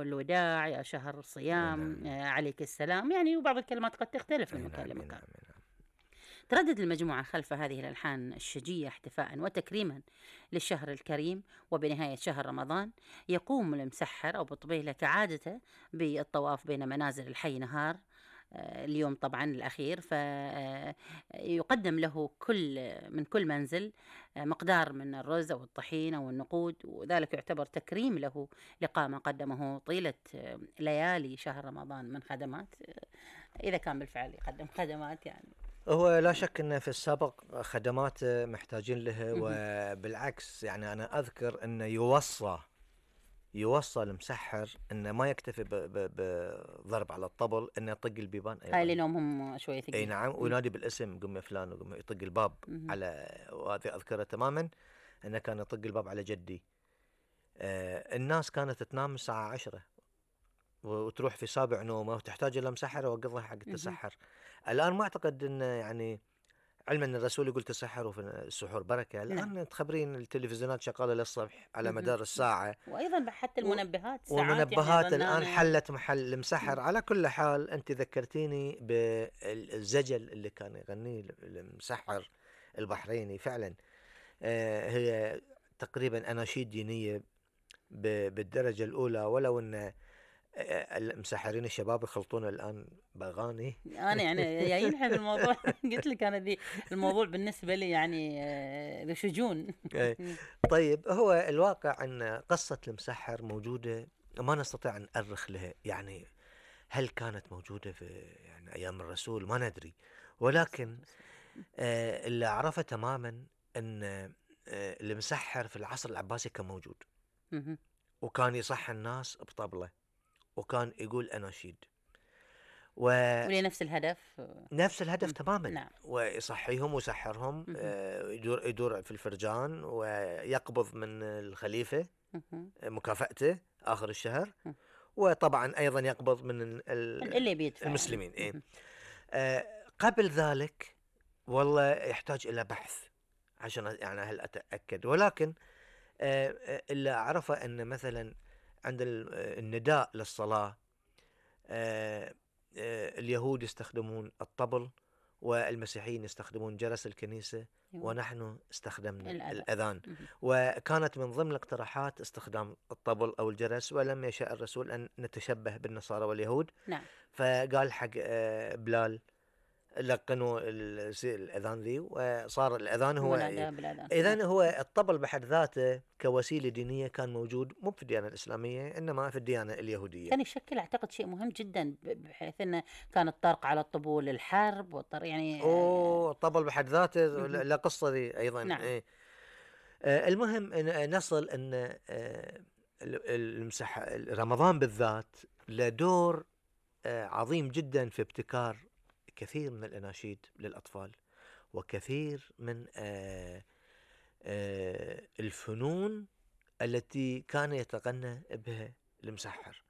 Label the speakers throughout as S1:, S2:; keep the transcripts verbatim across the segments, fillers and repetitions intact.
S1: الوداع، يا شهر الصيام،
S2: نعم.
S1: عليك السلام، يعني وبعض الكلمات قد تختلف من
S2: أي
S1: مكان
S2: نعم، أي
S1: لمكان.
S2: نعم، أي نعم.
S1: تردد المجموعة خلف هذه الألحان الشجية احتفاء وتكريما للشهر الكريم، وبنهاية شهر رمضان يقوم المسحر أو بطبيلة كعادته بالطواف بين منازل الحي نهار اليوم طبعا الأخير، فيقدم له كل من كل منزل مقدار من الرز أو الطحين أو النقود، وذلك يعتبر تكريم له لقاء ما قدمه طيلة ليالي شهر رمضان من خدمات، إذا كان بالفعل يقدم خدمات. يعني
S2: هو لا شك أنه في السابق خدمات محتاجين له، وبالعكس يعني أنا أذكر أنه يوصى يوصى المسحر أنه ما يكتفي بضرب على الطبل، أنه يطق البيبان أيضا.
S1: هاي لأنهم هم شوية ثقيل.
S2: أي نعم، وينادي بالاسم، قم يا فلان، وقم يطق الباب
S1: مم.
S2: على، وهذه أذكره تماما أنه كان يطق الباب على جدي. آه الناس كانت تنام الساعة عشرة وتروح في سابع نومه وتحتاج إلى مسحر وقضها حق التسحر. الآن ما أعتقد أن يعني علما أن الرسول يقول تسحروا في السحور بركة، الآن
S1: نعم.
S2: تخبرين التلفزيونات شغالة للصبح على مدار الساعة،
S1: وأيضا حتى المنبهات ساعات
S2: والمنبهات
S1: يعني
S2: الآن
S1: ظنانة.
S2: حلت محل المسحر. على كل حال أنت ذكرتيني بالزجل اللي كان يغنيه المسحر البحريني فعلا. آه هي تقريبا أناشيد دينية بالدرجة الأولى، ولو أن المسحرين الشباب يخلطون الآن بأغاني.
S1: أنا يعني جايين في الموضوع قلت لك أنا دي الموضوع بالنسبة لي يعني شجون.
S2: طيب، هو الواقع أن قصة المسحر موجودة، ما نستطيع أن نأرخ لها. يعني هل كانت موجودة في يعني أيام الرسول؟ ما ندري، ولكن آه اللي أعرفه تماما أن آه المسحر في العصر العباسي كان موجود، وكان يصح الناس بطبلة، وكان يقول أناشيد و...
S1: ولنفس الهدف
S2: نفس الهدف تماما.
S1: نعم.
S2: ويصحيهم ويسحرهم، آه يدور يدور في الفرجان ويقبض من الخليفة مكافأته آخر الشهر، وطبعا أيضا يقبض من
S1: اللي بيدفع
S2: المسلمين.
S1: يعني.
S2: إيه؟ آه قبل ذلك والله يحتاج إلى بحث عشان يعني هل أتأكد، ولكن آه اللي أعرفه أن مثلا عند النداء للصلاة آه آه اليهود يستخدمون الطبل، والمسيحيين يستخدمون جرس الكنيسة، ونحن استخدمنا الأذان, الأذان. وكانت من ضمن الاقتراحات استخدام الطبل أو الجرس، ولم يشاء الرسول أن نتشبه بالنصارى واليهود.
S1: نعم.
S2: فقال حق آه بلال لقنوا الأذان ذي، وصار الأذان هو إذن هو الطبل بحد ذاته كوسيلة دينية كان موجود، مو في الديانة الإسلامية إنما في الديانة اليهودية.
S1: كان يشكل أعتقد شيء مهم جدا، بحيث أنه كان الطرق على الطبول للحرب والطر يعني
S2: أوه الطبل بحد ذاته لا قصة ذي أيضا.
S1: نعم.
S2: إيه. آه المهم إن نصل أن آه المسح رمضان بالذات له دور آه عظيم جدا في ابتكار كثير من الأناشيد للأطفال، وكثير من آه آه الفنون التي كان يتغنى بها المسحر.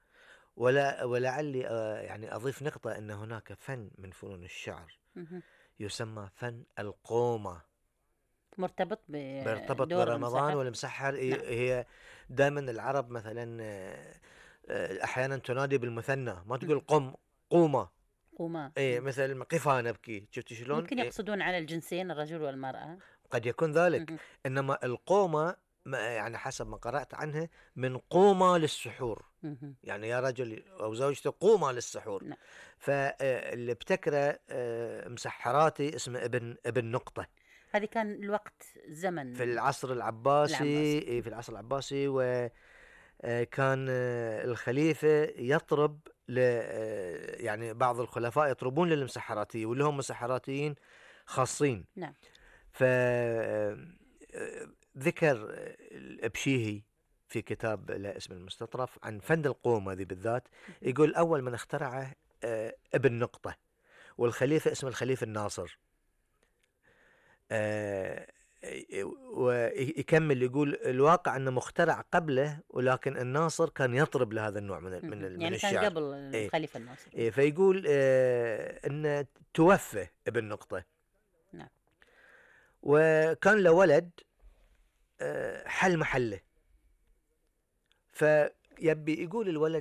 S2: ولا ولعلي آه يعني أضيف نقطة أن هناك فن من فنون الشعر يسمى فن القومة،
S1: مرتبط
S2: مرتبط برمضان والمسحر. نعم. هي دائما العرب مثلا آه أحيانا تنادي بالمثنى، ما تقول قم قومة
S1: قومة.
S2: ايه مثل قفا نبكي، شفت شلون؟
S1: ممكن يقصدون إيه؟ على الجنسين الرجل والمرأة
S2: قد يكون ذلك. م-م. انما القومة يعني حسب ما قرأت عنها من قومة للسحور، م-م. يعني يا رجل او زوجته قومة للسحور. نعم. فاللي ابتكره مسحراتي اسمه ابن ابن نقطة.
S1: هذه كان الوقت زمن
S2: في العصر العباسي, العباسي. في العصر العباسي، وكان الخليفة يطرب ل يعني بعض الخلفاء يطربون للمسحراتية، واللي هم مسحراتيين خاصين.
S1: نعم.
S2: فذكر الأبشيهي في كتاب له اسم المستطرف عن فن القومة ذي بالذات، يقول أول من اخترعه ابن نقطة، والخليفة اسمه الخليفة الناصر. ويكمل يقول الواقع أنه مخترع قبله، ولكن الناصر كان يطرب لهذا النوع من من,
S1: يعني
S2: من الشعر.
S1: كان قبل الخليفة الناصر.
S2: إيه فيقول آه أنه توفى ابن نقطة.
S1: نعم.
S2: وكان له ولد آه حل محله، فيبي يقول الولد